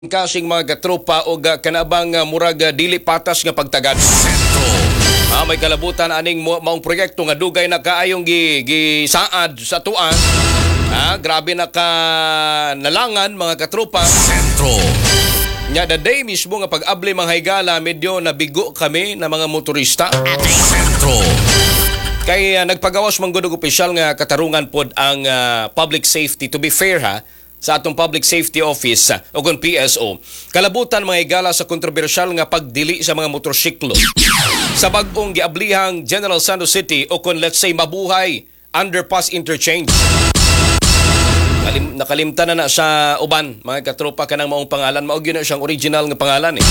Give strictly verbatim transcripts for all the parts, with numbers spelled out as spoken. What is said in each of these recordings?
Kasing mga katropa og uh, kanabang uh, murag uh, dili patas nga pagtagad. Sentro. Ah, may kalabutan aning mo- maong proyekto nga dugay na kaayong gi, gisaad sa atoa. Ah, grabe na ka nalangan, mga katropa. Sentro. Nya the day mismo nga pag-abli, mga higala, medyo nabigo kami na mga motorista. Sentro. Kay uh, nagpagawas man gud og opisyal nga katarungan pod ang ah, public safety, to be fair ha, sa atong Public Safety Office uh, o kung P S O. Kalabutan, mga higala, sa kontrobersyal nga pagdili sa mga motorsiklo sa bag-ong giablihang General Santos City o kung let's say Mabuhay Underpass Interchange. Kalim, nakalimtan na na sa uban, mga katropa, kanang maong pangalan. Mao gyud na siyang original nga pangalan eh.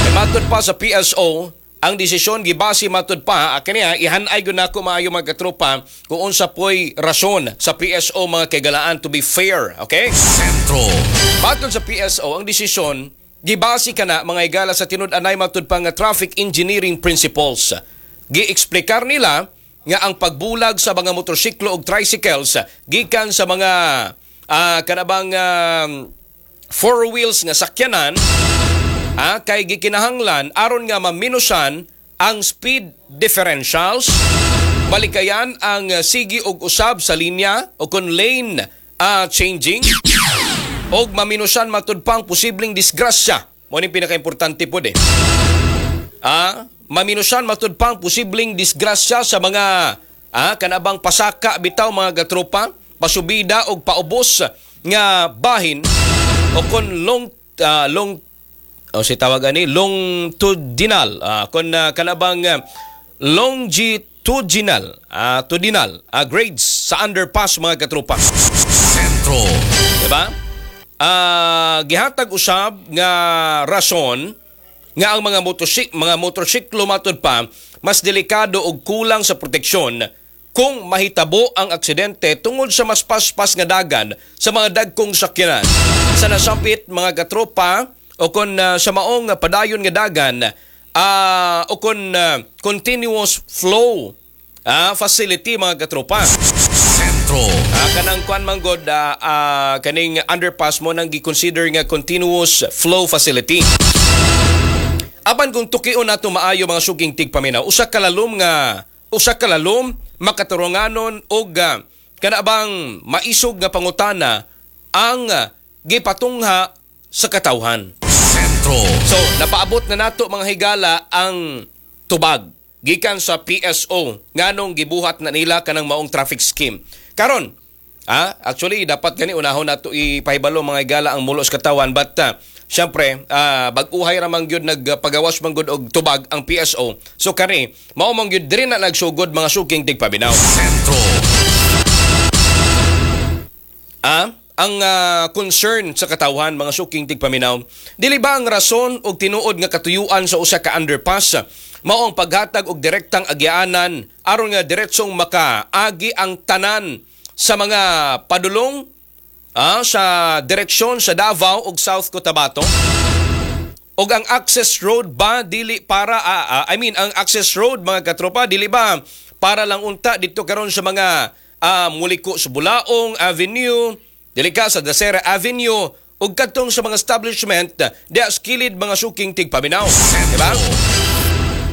Kay matud pa sa P S O, ang desisyon gibase matud pa, ah, kaniya ihanay gyud nako maayo, mga katropa, kung unsa poy rason sa P S O, mga kaigalaan, to be fair, okay? Sentro. Matod sa P S O, ang desisyon gibase kana, mga higala, sa tinud-anay matud pa nga traffic engineering principles. Gieksplikar nila nga ang pagbulag sa mga motorsiklo ug tricycles gikan sa mga ah, kanabang ah, four wheels nga sakyanan ah, kay gikinahanglan aron nga maminusan ang speed differentials, balikayan ang ah, sige og usab sa linya o kon lane ah, changing, og maminusan matud pang posibleng disgrasya. Mao ning pinakaimportante pod eh. Ah, maminusan matud pang posibleng disgrasya sa mga ah, kanabang pasaka bitaw, mga katropa, pasubida og paubos nga bahin o kon long ah, long o si tawag ani longitudinal, ah, kon ah, kanabang ah, longitudinal ah, tudinal ah, grades sa underpass, mga katropa. Sentro. Diba? Ah, gihatag usab nga rason nga ang mga motosik mga motorsiklo matud pa mas delikado og kulang sa proteksyon kung mahitabo ang aksidente tungod sa mas paspas nga dagan sa mga dagkong sakyanan. Sa nasapit, mga katropa, o kon ah, sa maong padayon nga dagan ah, o kon ah, continuous flow ah, facility, mga katropa. Sentro. Ah, kanang kwan man god, ah, ah, kaning underpass mo nang gi-consider nga continuous flow facility. Apan kung tukion nato maayo, mga suking tigpaminaw, usa ka lalom nga usa ka lalom, makaturunganon og ah, kana bang maisog nga pangutana ang ah, gipatungha sa katawhan. Sentro. So, napaabot na nato, mga higala, ang tubag gikan sa P S O nganong gibuhat na nila kanang maong traffic scheme. Karon, ah, actually dapat gani unahon nato ipahibalo, mga higala, ang mulo sa katawan, but ah, syempre, ah, bag-uhay ra man gyud nagpagawas man gud og tubag ang P S O. So kani, mao man gyud diri na nagsugod, mga suking tigpaminaw. Sentro. Ah, ang ah, concern sa katawhan, mga suking tigpaminaw, dili ba ang rason og tinuod nga katuyuan sa usa ka underpass mao ang paghatag og direktang agyaanan aron nga diretsong makaagi ang tanan sa mga padulong ah, sa direksyon sa Davao ug South Cotabato? Og ang access road ba dili para ah, ah, I mean, ang access road, mga katropa, dili ba para lang unta dito karon sa mga ah, muliko sa Bulaong Avenue, dili ka sa Dacera Avenue ug kadtong sa mga establishment diha sa kilid, mga suking tigpaminaw, di ba?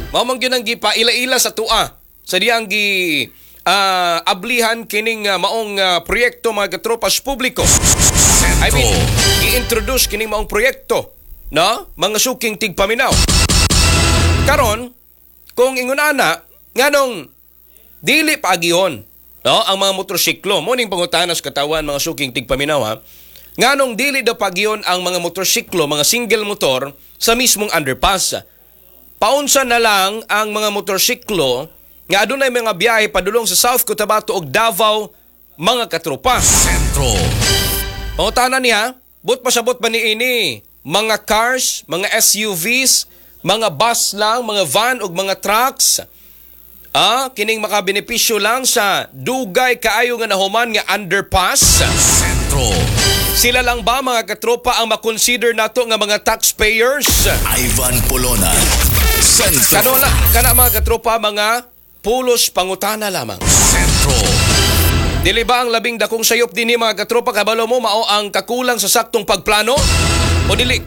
Mao man gyud ang gipaila-ila sa atoa sa diyang gi ah, ablihan kining ah, maong ah, proyekto, mga katropa, sa publiko. I mean, i-introduce kining maong proyekto, no? Mga suking tigpaminaw. Karon, kung ingon ana, nganong dili paagihon, no, ang mga motorsiklo? Mao ning pangutana sa katawan, mga suking tigpaminaw ha. Nganong dili daw paagihon ang mga motorsiklo, mga single motor sa mismong underpass? Paunsa na lang ang mga motorsiklo nga adunay mga biyahe padulong sa South Cotabato ug Davao, mga katropa? Sentro. Pangutana niya, but pasabot ba ni ini mga cars, mga S U Vs, mga bus lang, mga van ug mga trucks? Ah, kining makabenepisyo lang sa dugay kaayo nga nahuman nga underpass? Sentro. Sila lang ba, mga katropa, ang makonsider nato nga mga taxpayers? Ivan Polona. Sentro. Kano la, kana, mga katropa, mga pulos pangutana lamang. Sentro. Dili ba ang labing dakong sayop dinhi, mga katropa, kabalo mo, mao ang kakulang sa saktong pagplano? O dili.